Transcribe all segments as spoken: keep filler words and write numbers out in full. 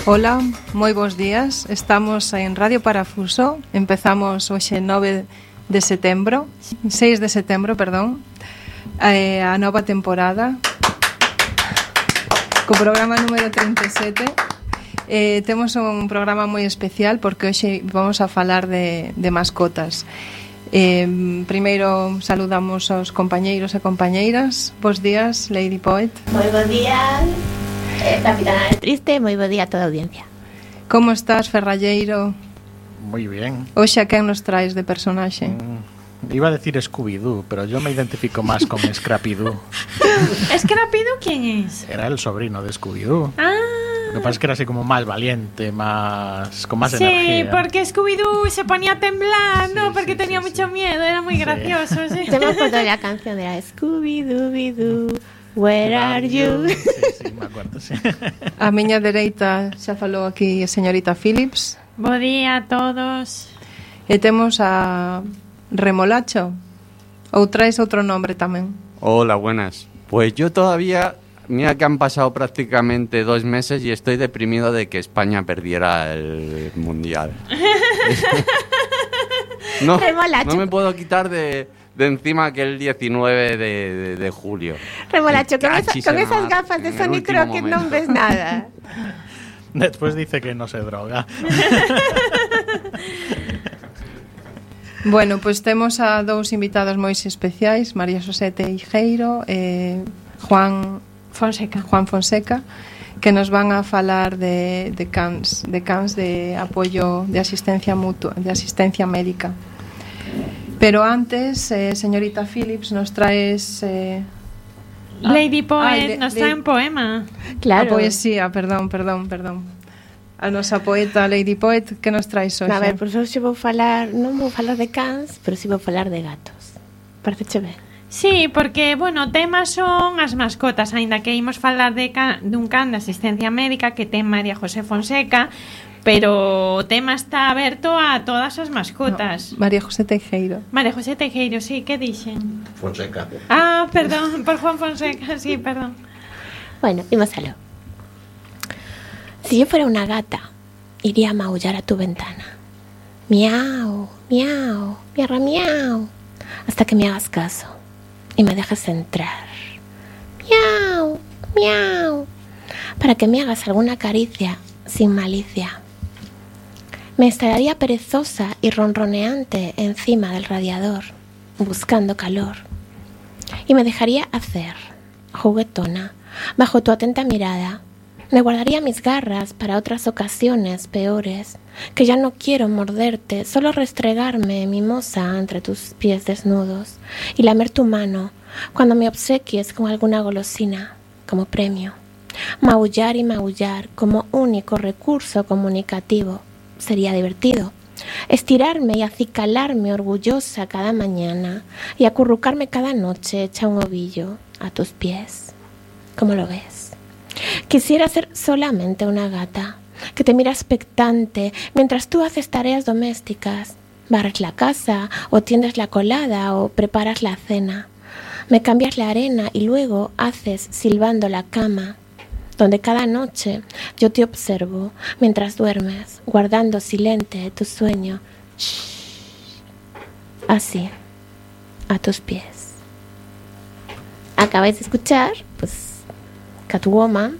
Ola, moi bons días. Estamos en Radio Parafuso. Empezamos hoxe nove de setembro, seis de setembro, perdón, eh, a nova temporada co programa número trinta e sete. Eh, temos un programa moi especial porque hoxe vamos a falar de, de mascotas. Eh, primeiro saludamos aos compañeiros e compañeiras. Bos días, Lady Poet. Moi bons días, eh, Capitana Triste. Moi bo día a toda a audiencia. Como estás, Ferralleiro? Moi bien. Hoxe a quen nos traes de personaxe? Mm, iba a decir Scooby-Doo, pero yo me identifico más con Scrappy-Doo. ¿Scrappy-Doo quién es? Era el sobrino de Scooby-Doo. Ah. Lo que pasa es que era así como más valiente, más con más sí, energía. Sí, porque Scooby-Doo se ponía a temblar, sí, ¿no? Porque sí, tenía sí, mucho sí. miedo, era muy sí. gracioso, sí. Se me acuerdo la canción de la Scooby-Dooby-Doo, Where are you? Sí, sí, me acuerdo, sí. A miña dereita xa falou aquí a señorita Phillips. Bo día a todos. E temos a Remolacho. Ou traes outro nombre tamén? Hola, buenas. Pues yo todavía, mira que han pasado prácticamente dos meses y estoy deprimido de que España perdiera el Mundial. no, no me puedo quitar de, de encima aquel diecinueve de, de, de julio. Remolacho, con, esa, con esas Mar, gafas de Sony Crockett no ves nada. Después dice que no se droga. Bueno, pois pues temos a dous invitados moi especiais, María José Teijeiro e Juan Fonseca. Juan Fonseca, que nos van a falar de, de cans, de cans de apoio de asistencia mutua, de asistencia médica. Pero antes, eh, señorita Phillips, nos traes eh, Lady Poet ah, le, nos le, trae un poema. Claro. A poesía, perdón, perdón, perdón. A nosa poeta Lady Poet, que nos traes hoxe? A ver, pois hoxe vou falar, non vou falar de cans, pero si sí vou falar de gatos. Parece ben? Sí, porque, bueno, temas son as mascotas, aínda que imos falar de can, dun can de asistencia médica que ten María José Fonseca, pero o tema está aberto a todas as mascotas. No, María José Teijeiro. María José Teijeiro, sí, que dixen? Fonseca. Ah, perdón, por Juan Fonseca, sí, perdón. Bueno, imos aló. Si yo fuera una gata, iría a maullar a tu ventana. Miau, miau, miarra, miau, hasta que me hagas caso y me dejes entrar. Miau, miau, para que me hagas alguna caricia sin malicia. Me estaría perezosa y ronroneante encima del radiador, buscando calor. Y me dejaría hacer, juguetona, bajo tu atenta mirada. Me guardaría mis garras para otras ocasiones peores, que ya no quiero morderte, solo restregarme mimosa entre tus pies desnudos y lamer tu mano cuando me obsequies con alguna golosina como premio. Maullar y maullar como único recurso comunicativo sería divertido. Estirarme y acicalarme orgullosa cada mañana y acurrucarme cada noche hecha un ovillo a tus pies. ¿Cómo lo ves? Quisiera ser solamente una gata que te mira expectante mientras tú haces tareas domésticas, barres la casa o tiendes la colada o preparas la cena. Me cambias la arena y luego haces silbando la cama, donde cada noche yo te observo mientras duermes, guardando silente tu sueño. Shh. Así, a tus pies. Acabáis de escuchar, pues, Catwoman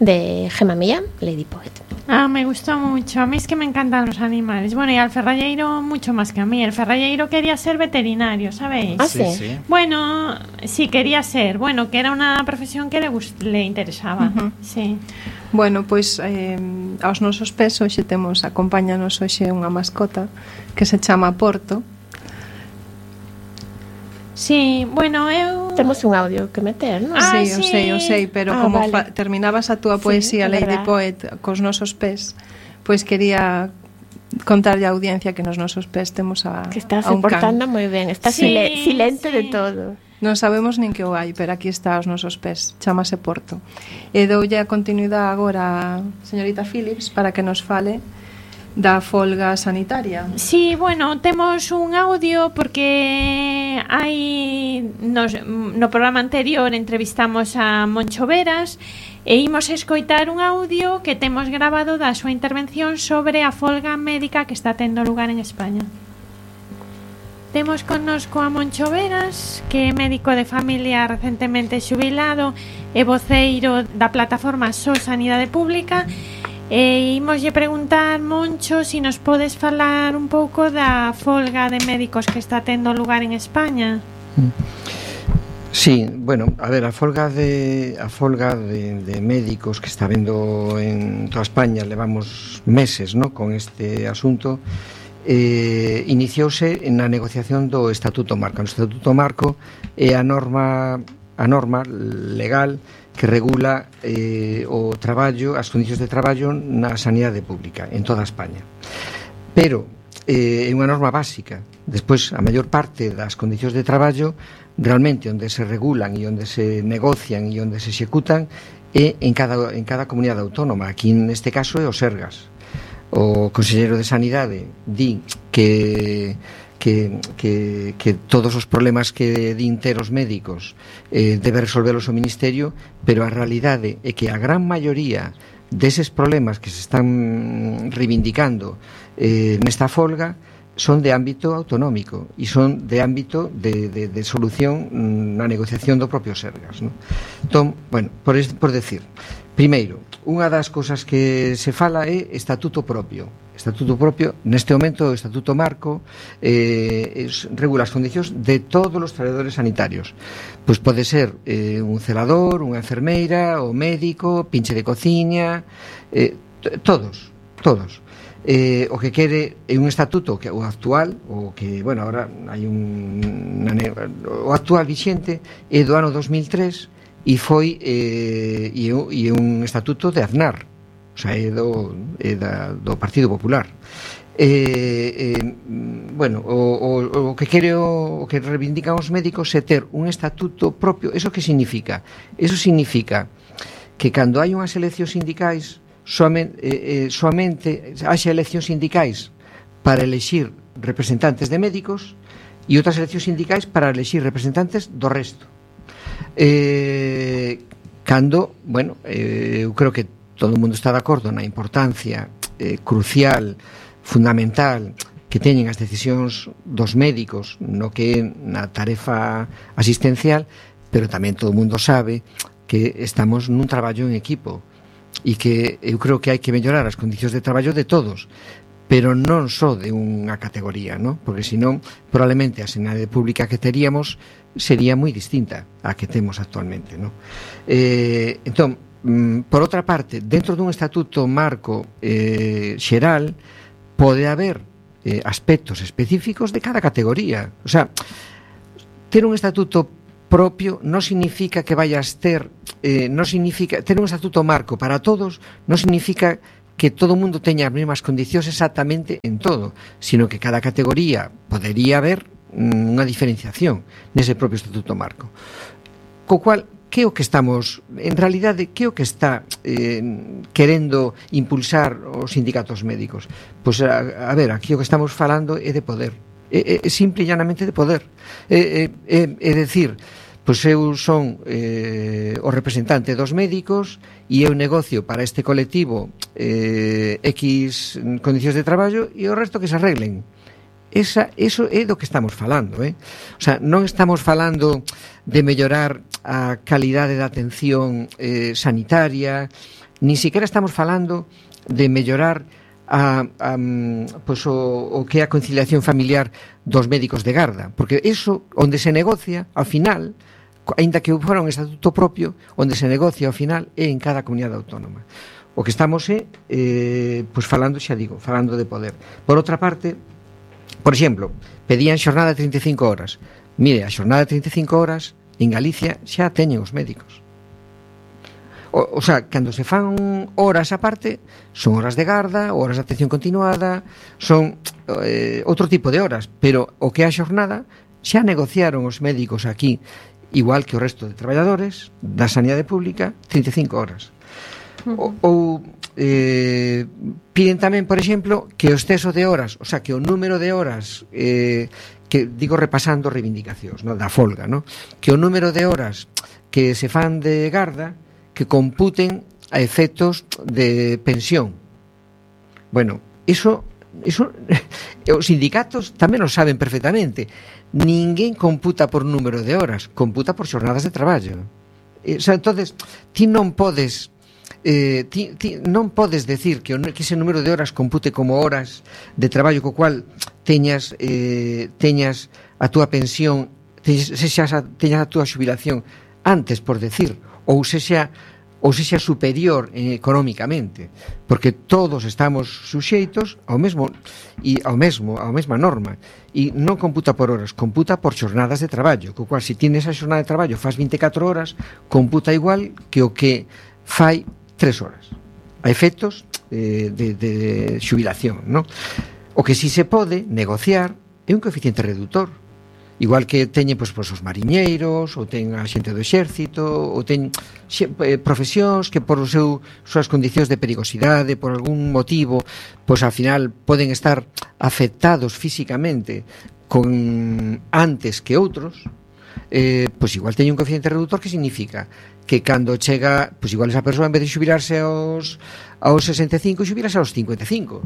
de Gemma Millán, Lady Poet. Ah, me gustó mucho. A mí es que me encantan los animales. Bueno, y al Ferralleiro mucho más que a mí. El Ferralleiro quería ser veterinario, ¿sabéis? Ah, Sí, sí. sí. Bueno, sí quería ser. Bueno, que era una profesión que le, gust- le interesaba. Uh-huh. Sí. Bueno, pois eh, aos nosos pés hoxe temos, acompáñanos hoxe unha mascota que se chama Porto. Sí, bueno, eu... Temos un audio que meter, non? Ah, sí, o sí. sei, o sei, pero Ah, como vale. fa- terminabas a túa poesía, é Lady verdad. Poet, cos nosos pés, pois quería contarlle á audiencia que nos nosos pés temos a, Que está a un soportando can. moi ben. Está Sí, sile- silente sí. de todo. Non sabemos nin que o hai, pero aquí está os nosos pés, chamase Porto. E doulle a continuidade agora a señorita Phillips para que nos fale da folga sanitaria. Sí, bueno, temos un audio porque hai nos, no programa anterior entrevistamos a Moncho Veras E imos escoitar un audio que temos grabado da súa intervención sobre a folga médica que está tendo lugar en España. Temos connosco a Moncho Veras, que é médico de familia recentemente xubilado e voceiro da plataforma So Sanidade Pública. E imoslle preguntar, Moncho, si nos podes falar un pouco da folga de médicos que está tendo lugar en España. Sí, bueno, a ver, a folga de a folga de, de médicos que está vendo en toda España, levamos meses, ¿no?, con este asunto. Eh, iniciouse na negociación do Estatuto Marco. O Estatuto Marco é a norma a norma legal que regula eh, o traballo, as condicións de traballo na sanidade pública en toda España. Pero eh, é unha norma básica. Despois, a maior parte das condicións de traballo realmente onde se regulan e onde se negocian e onde se executan é en cada, en cada comunidade autónoma. Aquí neste caso é o Sergas. O Conselleiro de Sanidade di que que, que, que todos os problemas que din ter os médicos eh, debe resolvelos o Ministerio, pero a realidade é que a gran maioría deses problemas que se están reivindicando eh, nesta folga son de ámbito autonómico e son de ámbito de, de, de solución na negociación do propio Sergas, ¿no? Entón, bueno, por, es, por decir, primeiro, unha das cousas que se fala é estatuto propio. Estatuto propio, neste momento o Estatuto Marco eh, es, regula as condicións de todos os traballadores sanitarios. Pois pode ser eh, un celador, unha enfermeira, o médico, pinche de cociña, eh, todos, todos. Eh, o que quere é un estatuto que o actual, o que, bueno, agora hai un o actual vixente é do ano dos mil tres e foi eh, e, e un estatuto de Aznar, o sea, é do, é da, do Partido Popular. Eh, eh, bueno, o, o, o que quere o, o que reivindican os médicos é ter un estatuto propio. Eso que significa? Eso significa que cando hai unhas eleccións sindicais soamente, eh, soamente haxa eleccións sindicais para elexir representantes de médicos e outras eleccións sindicais para elexir representantes do resto. Eh, cando, bueno, eh, eu creo que todo o mundo está de acordo na importancia eh, crucial, fundamental que teñen as decisións dos médicos no que é na tarefa asistencial, pero tamén todo o mundo sabe que estamos nun traballo en equipo e que eu creo que hai que mellorar as condicións de traballo de todos, pero non só de unha categoría, ¿no? Porque senón probablemente a sanidade pública que teríamos sería moi distinta á que temos actualmente, ¿no? Eh, entón, mm, por outra parte, dentro dun estatuto marco eh, xeral pode haber eh, aspectos específicos de cada categoría. O sea, ter un estatuto propio non significa que vayas ter eh, non significa ter un estatuto marco para todos, non significa que todo o mundo teña as mesmas condicións exactamente en todo, sino que cada categoría podería haber mm, unha diferenciación nese propio estatuto marco. Co cual, que é o que estamos, en realidade, que é o que está eh, querendo impulsar os sindicatos médicos? Pois, a, a ver, aquí o que estamos falando é de poder, é, é simple e llanamente de poder, é, é, é, é decir, pois eu son eh, o representante dos médicos e eu negocio para este colectivo eh, X condicións de traballo e o resto que se arreglen. Esa, eso é do que estamos falando, eh? O sea, non estamos falando de mellorar a calidade da atención eh, sanitaria, ni siquiera estamos falando de mellorar a, a, pues o, o que é a conciliación familiar dos médicos de garda, porque eso, onde se negocia, ao final, aínda que fora un estatuto propio, onde se negocia ao final é en cada comunidade autónoma. O que estamos é eh, pues falando, xa digo, falando de poder. Por outra parte, por exemplo, pedían xornada de trinta e cinco horas. Mire, a xornada de trinta e cinco horas en Galicia xa teñen os médicos. O, o sea, cando se fan horas aparte, son horas de garda, horas de atención continuada, son eh, outro tipo de horas, pero o que é a xornada xa negociaron os médicos aquí, igual que o resto de traballadores da sanidade pública, trinta e cinco horas. O, ou eh, piden tamén, por exemplo, que o exceso de horas, o sea, que o número de horas eh, que digo repasando reivindicacións, no, da folga, no? Que o número de horas que se fan de garda que computen a efectos de pensión. Bueno, iso, iso os sindicatos tamén o saben perfectamente. Ninguén computa por número de horas, computa por xornadas de traballo. Eh, o sea, entonces, ti non podes eh, ti, ti non podes decir que, que ese número de horas compute como horas de traballo co cual teñas eh, teñas a túa pensión, teñas, teñas, a, teñas a túa xubilación antes, por decir, ou sexa ou sexa superior eh, económicamente, porque todos estamos suxeitos ao mesmo e ao mesmo, ao mesma norma, e non computa por horas, computa por xornadas de traballo, co cual se tienes a xornada de traballo faz vinte e catro horas, computa igual que o que fai tres horas. A efectos eh, de, de xubilación, non? O que si se pode negociar é un coeficiente reductor. Igual que teñen pois, pois, os mariñeiros, ou ten a xente do exército, ou ten xe, eh, profesións que por o seu, súas condicións de perigosidade, por algún motivo, pois ao final poden estar afectados físicamente con antes que outros, eh, pois igual teñen un coeficiente reductor que significa que cando chega, pois igual esa persoa en vez de xubilarse aos, aos sesenta e cinco, xubilarse aos cincuenta e cinco.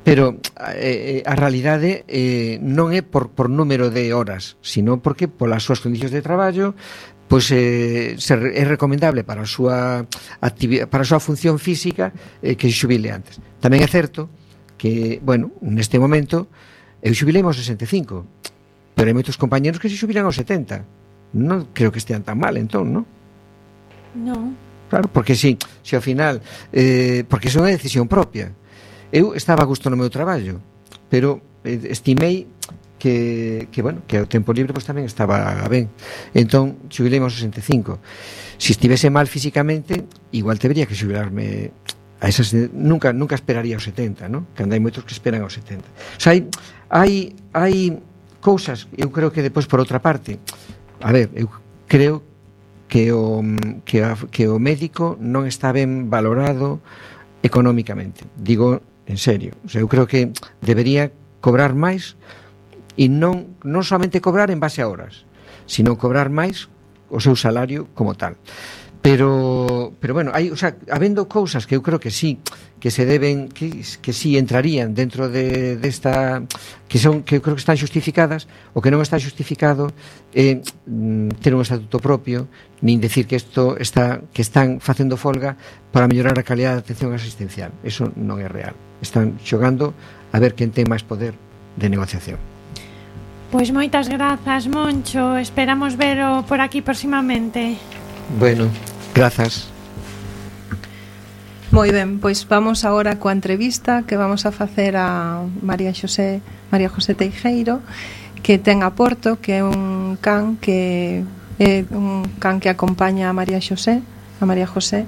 Pero eh, a realidade eh, non é por, por número de horas, sino porque polas súas condicións de traballo pois eh, ser, é recomendable para a súa actividade, para a súa función física eh, que se xubile antes. Tamén é certo que, bueno, neste momento eu xubilei aos sesenta e cinco, pero hai moitos compañeros que se xubilan aos setenta. Non creo que estean tan mal, entón, non? Non. Claro, porque si, si ao final eh, porque é unha decisión propia. Eu estaba a gusto no meu traballo, pero estimei que, que bueno, que o tempo libre pois tamén estaba ben. Entón, xubilei aos sesenta e cinco. Se estivese mal físicamente, igual debería que xubilarme a esas, nunca nunca esperaría aos setenta, ¿no? Que hai moitos que esperan aos setenta. O sea, hai hai hai cousas, eu creo que depois por outra parte, a ver, eu creo que o que, a, que o médico non está ben valorado económicamente. Digo en serio, o sea, eu creo que debería cobrar máis e non non somente cobrar en base a horas, sino cobrar máis o seu salario como tal. Pero pero bueno, hai, o sea, habendo cousas que eu creo que sí, que se deben que que sí entrarían dentro de desta de que son que eu creo que están xustificadas, o que non está xustificado é eh, ter un estatuto propio, nin decir que isto está que están facendo folga para mellorar a calidad de atención asistencial. Eso non é real. Están xogando a ver quen ten máis poder de negociación. Pois moitas grazas, Moncho. Esperamos vero por aquí próximamente. Bueno, grazas. Moi ben, pois vamos agora coa entrevista que vamos a facer a María Xosé, María José Teijeiro, que ten a Porto, que é un can que é un can que acompaña a María Xosé, a María José.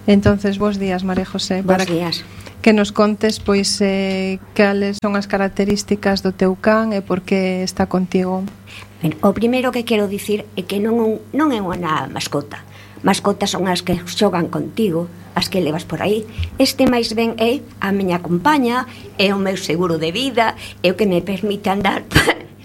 Entonces, bos días, María José. Bos días. Que nos contes, pois, eh, cales son as características do teu can e por que está contigo. Ben, o primeiro que quero dicir é que non, non é unha mascota. Mascotas son as que xogan contigo, as que levas por aí. Este máis ben é a miña compaña, é o meu seguro de vida, é o que me permite andar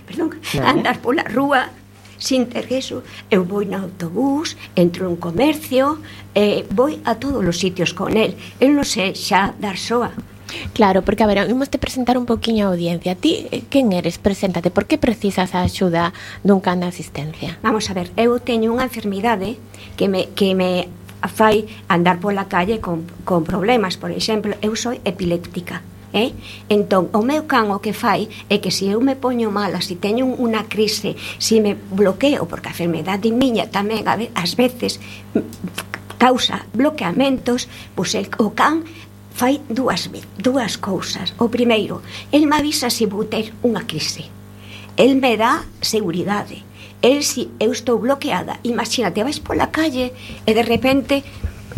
perdón, claro. andar pola rúa sin ter eso. Eu vou no autobús, entro en comercio, eh, vou a todos os sitios con el. Eu non sei xa dar soa. Claro, porque a ver, vamos te presentar un poquinho a audiencia. Ti, quen eres? Preséntate. Por que precisas a axuda dun can de asistencia? Vamos a ver, eu teño unha enfermidade que me, que me fai andar pola calle con, con problemas. Por exemplo, eu sou epiléptica. Eh? Entón, o meu can o que fai é que se eu me poño mala, se teño unha crise, se me bloqueo, porque a enfermedade miña tamén ás veces causa bloqueamentos, pois el, o can fai dúas, dúas cousas. O primeiro, el me avisa se vou ter unha crise. El me dá seguridade. El, se eu estou bloqueada, imagínate, vais pola calle e de repente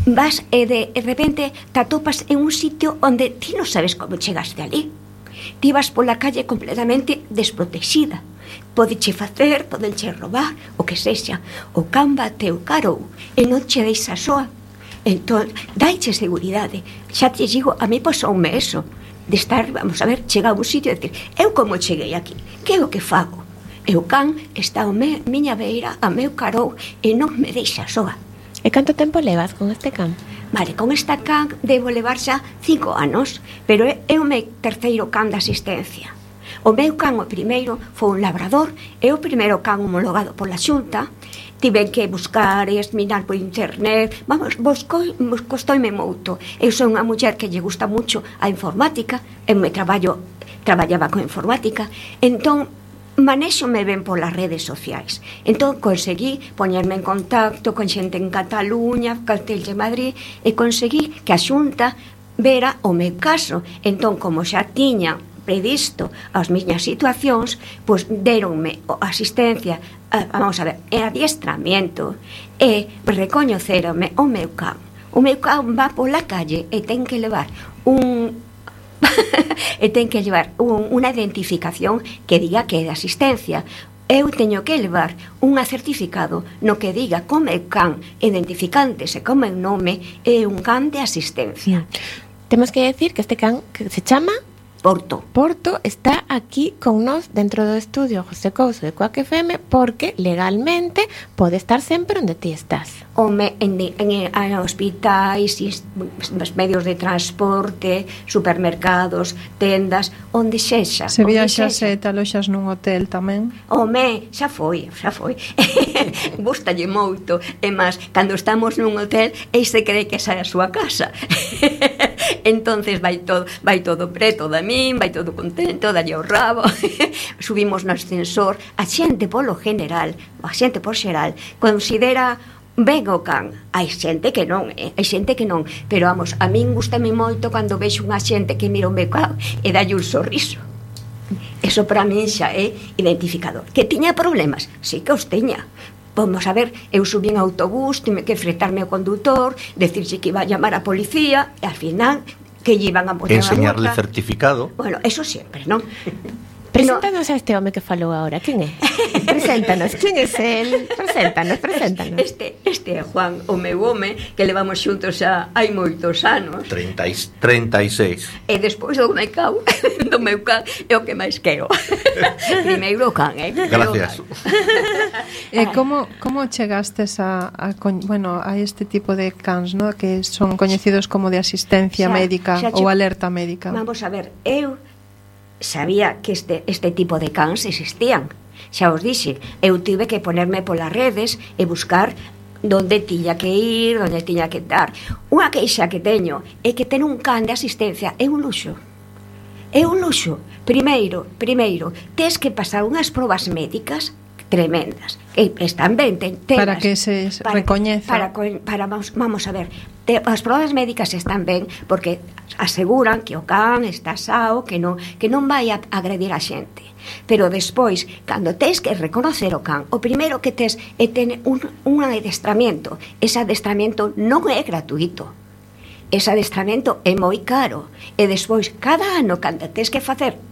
vas e de, de repente te atopas en un sitio onde ti non sabes como chegaste ali. Ti vas pola calle completamente desprotexida. Podeche facer, podenche robar, o que sexa. O can bateu carou e non che deixa soa. Entón, daiche seguridade. Xa te digo, a mí pasoume eso, de estar, vamos a ver, chegar a un sitio e decir, eu como cheguei aquí, que é o que fago? E o can está a me, miña beira, a meu carou, e non me deixa soa. E canto tempo levas con este can? Vale, con esta can debo levar xa cinco anos, pero é, é o meu terceiro can de asistencia. O meu can, o primeiro, foi un labrador, é o primeiro can homologado pola Xunta. Tive que buscar e mirar por internet. Vamos, buscoi, costoime moito. Eu sou unha muller que lle gusta mucho a informática, eu me traballo, traballaba con informática, entón manéxome ben polas redes sociais. Entón conseguí poñerme en contacto con xente en Cataluña, Castell de Madrid, e conseguí que a Xunta vera o meu caso. Entón, como xa tiña previsto as miñas situacións, pois deronme asistencia, vamos a ver, e adiestramiento, e recoñeceronme o meu can. O meu can va pola calle e ten que levar un e ten que levar un, unha identificación que diga que é de asistencia. Eu teño que levar un certificado no que diga co meu can identificándose co meu nome é un can de asistencia. Temos que decir que este can que se chama Porto. Porto está aquí con nós dentro do estudio José Couso de Coac F M porque legalmente pode estar sempre onde ti estás. Home, en, en, en hospitais, os medios de transporte, supermercados, tendas, onde sexa. Se viaxas e te aloxas nun hotel tamén? Home, xa foi, xa foi. Gústalle moito. E máis, cando estamos nun hotel, e se cree que esa é a súa casa. Entonces vai todo, vai todo preto da min, vai todo contento, dalle o rabo. Subimos no ascensor. A xente polo general, a xente por xeral, considera ben o can. Hai xente que non, eh? hai xente que non, pero vamos, a min gustame moito cando vexo unha xente que mira o meu can e dalle un sorriso. Eso para min xa é identificador. Que tiña problemas? Sí que os tiña. Vamos a ver, eu subí en autobús, tive que fretarme ao condutor, decirse que iba a llamar a policía, e al final que lle iban a botar a multa. Enseñarle certificado. Bueno, eso sempre, non? Preséntanos a este home que falou agora, quen é? Preséntanos, quen é el? Preséntanos, preséntanos. Este, este é Juan, o meu home, que levamos xuntos xa hai moitos anos. treinta e seis. E despois do meu can, do meu can, é o que máis quero. Primeiro o can, eh? Gracias. E como, como chegastes a, a, bueno, a este tipo de cans, ¿no? Que son coñecidos como de asistencia Xa, médica xa che- ou alerta médica? Vamos a ver, eu sabía que este, este tipo de cans existían. Xa os dixe, eu tive que ponerme polas redes e buscar donde tiña que ir, donde tiña que dar. Unha queixa que teño é que ter un can de asistencia é un luxo. É un luxo. Primeiro, primeiro, tes que pasar unhas probas médicas tremendas. Que están ben, ten, tenas, Para que se recoñeza. Para, para, para vamos, vamos a ver, te, as probas médicas están ben porque aseguran que o can está sao, que non, que non vai a agredir a xente. Pero despois, cando tes que reconocer o can, o primeiro que tes é ter un, un adestramento. Ese adestramento non é gratuito. Ese adestramento é moi caro. E despois, cada ano, cando tes que facer